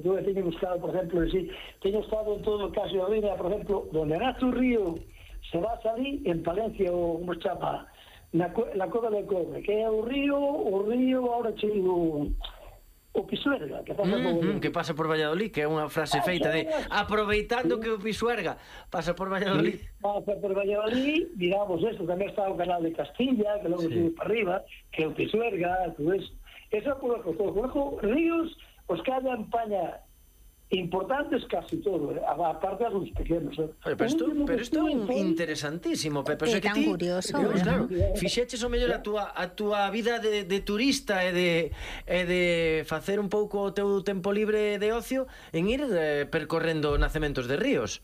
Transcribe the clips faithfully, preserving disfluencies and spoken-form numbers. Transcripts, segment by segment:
Yo teño buscado, por exemplo, sí, teño estado en todo o caso de Río, por exemplo, donde nace o río, se va a salir en Palencia, o como se chama, na, na Cova de Cobre, que é o río, o río, ahora chego, o Pisuerga, que pasa por mm, que pasa por Valladolid, que é unha frase feita de aproveitando que o Pisuerga pasa por Valladolid. Sí, pasa por Valladolid, digamos, esto, tamén está o canal de Castilla, que logo sí. sube para arriba, que é o Pisuerga, todo eso. Eso por o Cojo, ríos, os que haya en España importantes casi todo, eh? aparte de los pequenos. Eh? Oye, pero isto, pero isto é interesantísimo, Pepe. É tan curioso. Dios, claro, fixeches o mellor a túa, a túa vida de, de turista e de, e de facer un pouco o teu tempo libre de ocio en ir eh, percorrendo nacementos de ríos.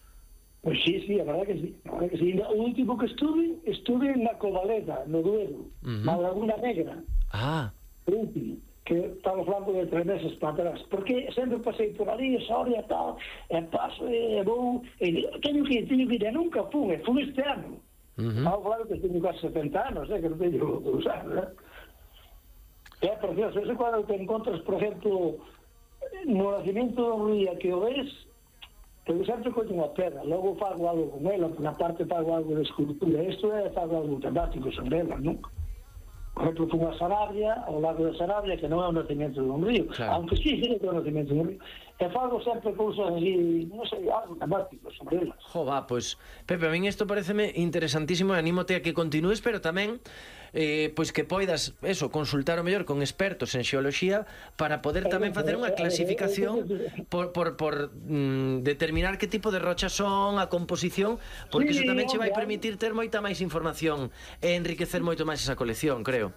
Pois pues sí, sí, a verdad que sí, a verdad que sí. O último que estuve, estuve na Covaleda, no Duero, uh -huh. na Laguna Negra. Ah. O último, que estamos falando de tres meses para atrás, porque sempre pasei por ali, Soria, tal, e paso, e vou, e teño que ir, teño que ir, e nunca fui, e fui este ano. Uh -huh. Estamos falando que teño casi setenta anos, eh, que non teño que usar, eh? É precioso, eso cando te encontras, por exemplo, no nacimiento do río que o ves, eu sempre coño unha pedra, logo fago algo con ela, na parte fago algo de escultura, isto é, fago algo temático sobre ela, non? Por exemplo, fui a Sarabia, ao lado de Sarabia, que non é o nacimiento dun río, claro. Aunque sí, sí que é o nacimiento dun río. E fago sempre cousas así, non sei, algo temático sobre elas. Jo, va, pois, Pepe, a min isto pareceme interesantísimo e anímote a que continúes, pero tamén eh, pois que poidas, eso, consultar o mellor con expertos en xeoloxía para poder tamén facer unha clasificación por, por, por mm, determinar que tipo de rochas son, a composición, porque sí, iso tamén che vai permitir ter moita máis información e enriquecer moito máis esa colección, creo.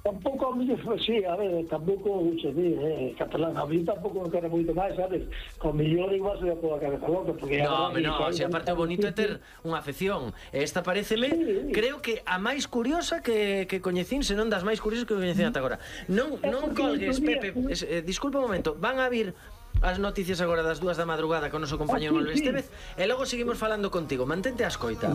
Tampouco, sí, a ver, tampouco, xe di, eh, catalán, a mí tampouco non quero moito máis, sabes? Con millón igual se toda a cabeza loca, porque... No, me no, se aparte o bonito é ter unha afección. Esta pareceme, sí, creo que a máis curiosa que, que coñecín, se non das máis curiosas que coñecín ata agora. Non, non colgues, Pepe, eh, disculpa un momento, van a vir as noticias agora das dúas da madrugada con o noso compañero Manuel Estévez, e logo seguimos falando contigo. Mantente a escoita.